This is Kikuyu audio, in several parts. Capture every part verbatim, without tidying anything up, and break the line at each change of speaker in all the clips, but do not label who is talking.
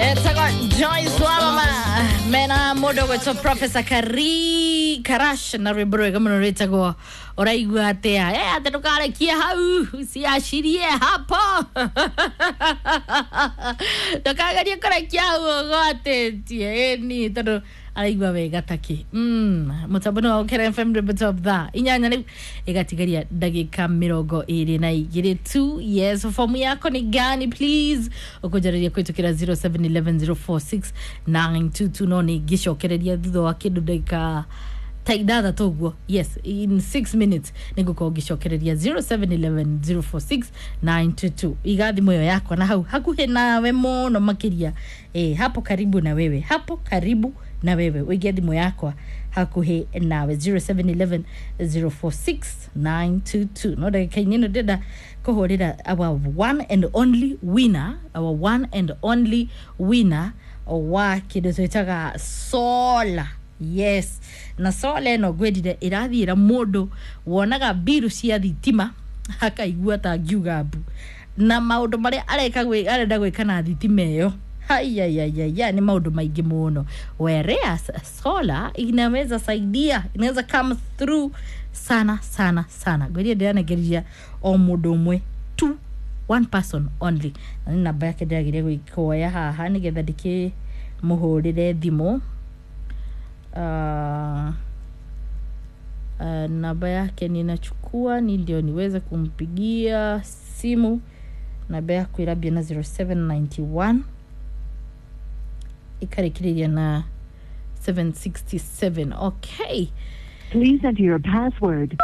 Etagwo Joyce Wamama mena mũndũ ũgwĩtwo Professor Kari Karash na rwĩmbo rwega mũno rwĩtagwo ũraigua atĩa. Eh, atĩ ndũkarekie hau usiashirie hapo ndũkagerie kũrekia hau ũgwatĩtie ĩni tondũ araigua wega takĩ. mm, mũtambo nĩ wa Ũkĩra F M rwĩmbo top thaa inyanya rĩu ĩgatigaria ndagĩka mĩrongo ĩrĩ na igĩrĩ tu. Yes, fomu yako ni gani please ũkũnjarĩria kũhĩtũkĩra zero seven one one zero four six nine two two no nĩ ngĩcokereria thutha wa kĩndũ ndagĩka ta ithathatũ ũguo. Yes, in six minutes nĩngũkorwo ngĩcokereria zero seven one one zero four six nine two two. Iga thimũ ĩyo yakwa na hau hakuhĩ nawe mũno makĩria, eh, hapo karibu na wewe, hapo karibu na wewe ũige thimũ yakwa hakuhĩ nawe zero seven one one zero four six nine two two. No ndagĩka-inĩ ĩno ndĩrenda kũhũrĩra our one and only winner, our one and only winner wa kĩndũ twĩtaga solar. Yes, na solar ĩno ngwĩrire ĩrathiĩra mũndũ wonaga mbiru cia thitima akaigua ta ngiuga mbu na maũndũ marĩa areka gwĩ- arenda gwĩka na thitima ĩyo haiyaiyaiyaiya nĩ maũndũ maingĩ mũno. Whereas solar inaweza saidia, inaweza come through sana sana sana. Ngwĩrire ndĩranengereria o mũndũ ũmwe tu, one person only, na nĩ namba yake ndĩragĩria gwĩkoya haha nĩgetha ndĩkĩmũhũrĩre thimũ. uh, uh, namba yake ninachukua ni ndio niweze kumpigia simu. Namba yaku irambia na zero seven nine one ikarĩkĩrĩria na seven six seven. Okay.
Please enter your password.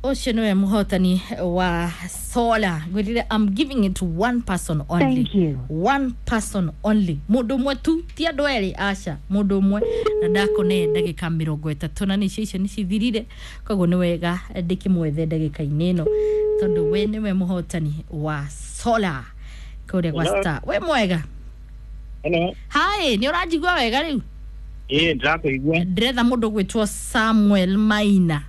Ũcio nĩwe mũhotani wa solar. Ngwĩrire I'm giving it to one person only.
Thank you.
One person only, mũndũ ũmwe tu, ti andũ erĩ, aca, mũndũ ũmwe. Na ndakũne ndagĩka mĩrongo ĩtatũ na nĩcio icio nĩcithirire, koguo nĩ wega ndĩkĩmwethe ndagĩka-inĩ ĩno tondũ we nĩwe mũhotani wa solar kũrĩa gwa
Hello.
Star. We mwega?
Hello.
Hi, nĩ ũranjigua wega rĩu?
Ĩĩ, ndĩrakũigua.
Ndĩretha mũndũ ũgwĩtwo Samuel Maina.